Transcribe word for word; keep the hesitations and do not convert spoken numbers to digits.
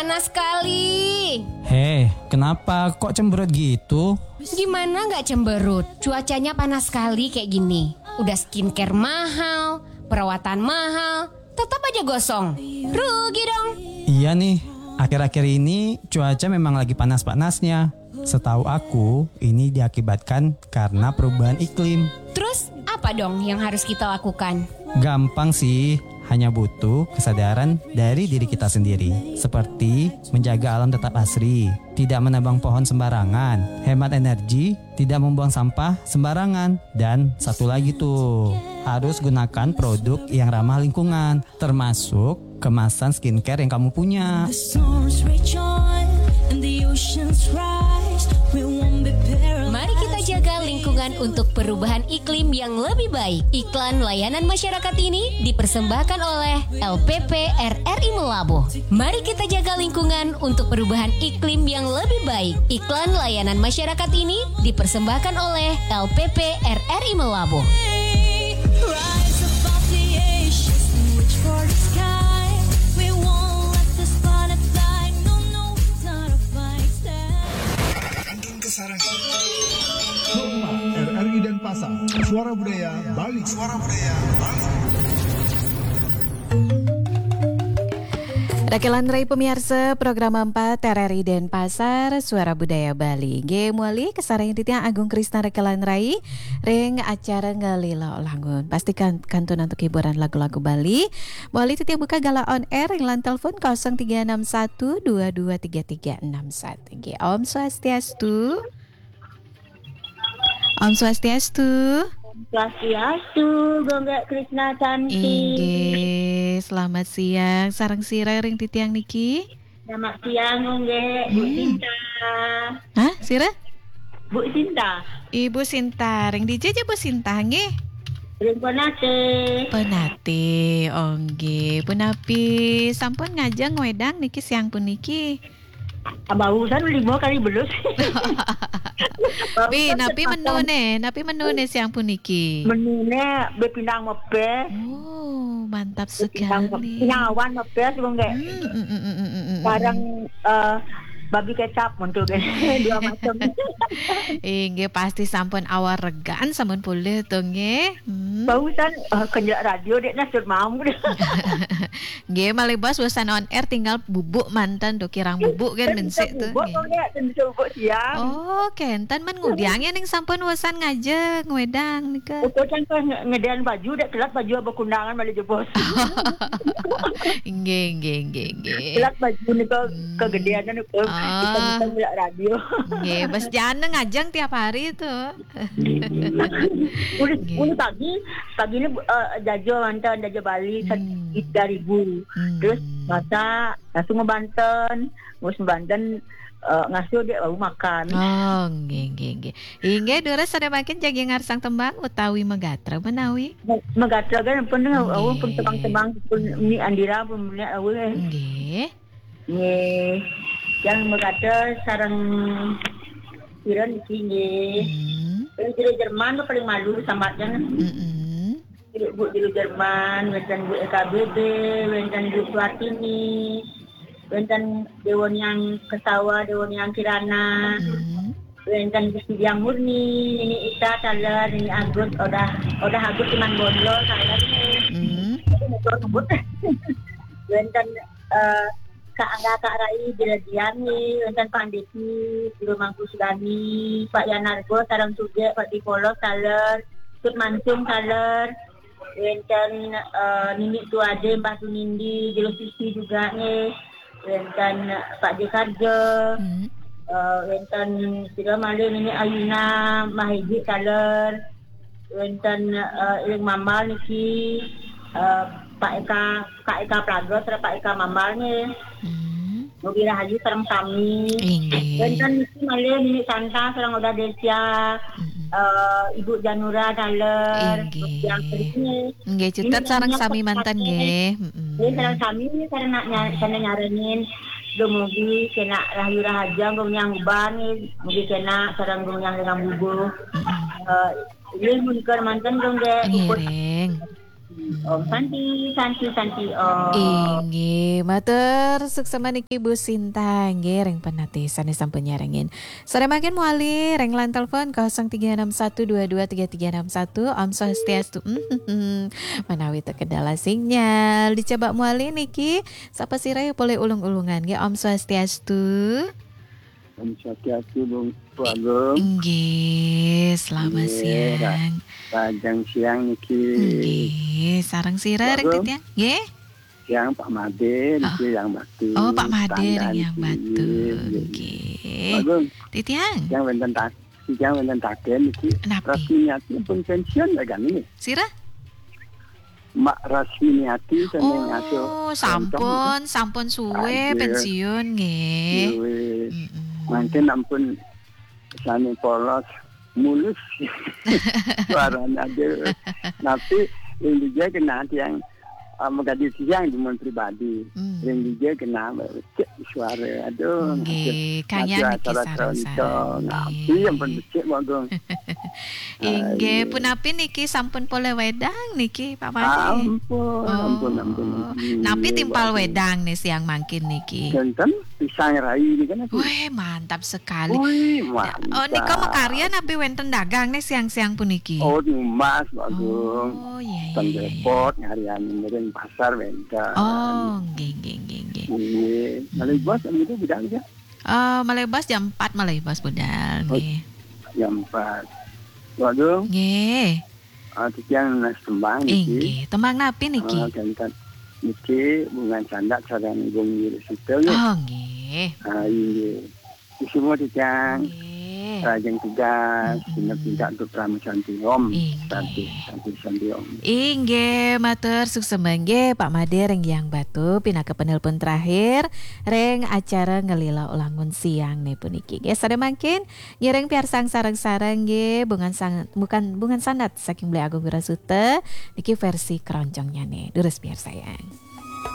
Panas sekali. Heh, kenapa kok cemberut gitu? Gimana nggak cemberut? Cuacanya panas sekali kayak gini. Udah skincare mahal, perawatan mahal, tetap aja gosong. Rugi dong. Iya nih, akhir-akhir ini cuaca memang lagi panas-panasnya. Setahu aku, ini diakibatkan karena perubahan iklim. Terus apa dong yang harus kita lakukan? Gampang sih, hanya butuh kesadaran dari diri kita sendiri. Seperti menjaga alam tetap asri, tidak menebang pohon sembarangan, hemat energi, tidak membuang sampah sembarangan. Dan satu lagi tuh, harus gunakan produk yang ramah lingkungan, termasuk kemasan skincare yang kamu punya. Mari kita jaga lingkungan untuk perubahan iklim yang lebih baik. Iklan layanan masyarakat ini dipersembahkan oleh L P P R R I Meulaboh. Mari kita jaga lingkungan untuk perubahan iklim yang lebih baik. Iklan layanan masyarakat ini dipersembahkan oleh L P P R R I Meulaboh. Rise above the ashes and reach for the sky. We won't let the spotlight, no, no, we don't fight. Kantun Kasarang. Rumah R R I Denpasar. Suara Budaya Bali. Suara Budaya Bali. Rakelan Rai pemirsa, program empat R R I Denpasar, Suara Budaya Bali. Nggih, muali kasarengin titiang Agung Krisna Rakelan Rai ring acara Ngalila Langun. Pastikan kantun antuk hiburan lagu-lagu Bali. Muali titiang buka galah on air ring line telepon kosong tiga enam satu dua dua tiga tiga enam satu. Nggih, Om Swastiastu. Om Swastiastu. Swastiastu, Gung Gek Krisna Cantik. Inggih, selamat siang. Sareng sira ring titiang niki? Selamat siang, Gung Gek, Bu Hmm. Sinta. Hah, sira? Bu Sinta. Ibu Sinta, ring dija ja Bu Sinta nggih? Ring Penate. Penate, oh nggih. Punapi sampun ngajeng wedang niki siang puniki? Barusan lima kali belus. Pi, napi menune? Napi menune siang puniki? Menune bepindang mepes. Oh, mantap sekali. Nyawan mepes, Gung Gek. Hmm, hmm, hmm, hmm, hmm, hmm. Bareng, eh, babi kecap, monto, Gung Gek. Dua macam. Inggih, pasti sampun awaregan, sampun pulih to, nggih. Hmm. Barusan, eh, kenjak radio, dek nasut mau. Nggih, malih bos, bosan on air, tinggal bubuk manten to, kirang bubuk kan, bensik to, bubuk, nggih. Kok nggak, tentu bubuk siang. Oh, kenten men ngudiang ya ning sampun bosan ngajeng, wedang nika. Ukur kan pas nge-, ngedean baju, dek telat baju abah kundangan malih jebos. Nggih, nggih, nggih, nggih. Telat baju nika Hmm. kegedean nika. Ah. Kita, kita ngelak radio. Nggih, bos jana ngajeng tiap hari to. Uli, Nggih. uli pagi, pagi ni, eh, jaja manten, jaja Bali, Hmm. tiga ribu. Hmm. Terus masak, langsung ngebanten, terus ngebanten, eh, ngasuh dek baru makan. Oh, nggih, nggih, nggih. Inggih, durus sada makin jagi ngarsang tembang utawi megatra menawi. Me-, megatra kan pun, Hmm. oh, pun tembang-tembang pun ni Andira pun punya, oh, eh. Nggih. Nggih. Yang megatra sareng sira niki nggih. Hmm. Yang jero Jerman tu paling malu sambat kan. Mm-mm. Ibu jero Jerman, wenten Bu E K B B, wenten Bu Suartini, wenten Dewa Niang Kesawa, Dewa Niang Kirana, Hmm. wenten Gusti Diang Murni, Nini Ita, taler, Nini Agus, Odah, Odah Agus Iman Bondol, taler. Hmm. Itu betul sebut. Wenten, eh, Kak Angga, Kak Rai, Jero Diani, wenten Pandesi, Guru Mangku Sudani, Pak Yanargo, sareng Suge, Pak Dipolo, taler, Tut Mancung, taler, wenten, eh, Nini Tuade, Mbah Tunindi, Jero Sisi juga nih, wenten Pak J Karjo, Hmm. eh, wenten sira malih Nini Ayuna, Mbah Eji, taler, wenten, eh, ring Mambal niki, eh, Pak Eka, Kak Eka Plaga, sareng Pak Eka Mambal nih. Hmm. Mugi rahayu sareng sami. Inggih. Wenten niki malih Nini Santa sareng Odah Desia, Mm-mm. eh, Ibu Janura taler, Inggih. Yang penting Nggih, Nini cutet sareng Nini sami manten Santa. Nggih. Mm-mm. Nggih, sareng sami sareng nak nya-, sareng nyarengin. Dumugi kena rahayu rahaja, Gung Yang Uban, mugi kena sareng Gung Yang Lengang Bubuh. Mm-mm. Eh, Nggih, mun keur manten dong, Dek. Ngiring. Om Santi, Santi, Santi, Om. Inggih, matur suksma niki Bu Sinta, nggih, ring penati sane sampun nyarengin. Sore mangkin mawali ring line telepon kosong tiga enam satu dua dua tiga tiga enam satu. Om Swastiastu. Menawi teken dalah sinyal, dicoba mawali niki. Sapa sira polih ulung-ulungan, nggih. Om Swastiastu. Om Swastiastu, Bung Agung. Inggih, selamat siang. Rahajeng siang niki. Inggih, sareng sira ring titiang? Nggih. Siang Pak Made niki Yang Batu. Oh, Pak Made ring Yang Batu. Nggih. Pak Agung. Titiang. Yang wenten tak, yang wenten taken niki. Napi? Rasminiati pun pensiun ya kan ini? Sira? Mbak Rasminiati sane ngasuh. Oh, sampun, sampun suwe pensiun nggih. Suwe. Mangkin ampun sane polos, mulus suarane, aduh. Tapi ring dija kena tiang, ah, mengkaji tiang demen pribadi. Ring dija kena cek suara, aduh. Nggih, kanya niki sareng-sareng. Tapi ampun becik, Pak Agung. Inggih, punapi niki sampun polih wedang niki, Pak Made? Ampun, ampun, ampun. Napi timpal wedang nih siang mangkin niki? Wenten pisang rai niki kan. Weh, mantap sekali. Wih, mantap. Oh, nika makarya napi wenten dagang nih siang-siang puniki? Oh, numbas, Pak Agung. Oh, iya, iya, iya. Ten repot, ngaryan ring pasar wenten. Oh, nggih, nggih, nggih, nggih. Nggih. Malih bos, niku budal ya? Eh, malih bos jam empat malih bos budal, nggih. Jam empat. Waduh. Nggih. Ah, titiang nunas tembang niki. Inggih, tembang napi niki? Ah, kenten. Niki Bungan Sandat sareng Gung Wiri Sutil nggih. Oh, nggih. Ah, inggih. Semua titiang. Nggih. Rahajeng tugas, genep tingkah untuk Rama Santi Om. Inggih. Santi, Santi, Santi Om. Inggih, matur suksma nggih Pak Made ring Yang Batu pinaka penelpon terakhir ring acara Ngelila Ulangun Siang nih puniki. Nggih, sare mangkin ngiring piarsang sareng-sareng nggih, Bungan Sang-, bukan, Bungan Sandat saking Beli Agung Wirasuta, niki versi keroncongnyane. Durus piarsayang.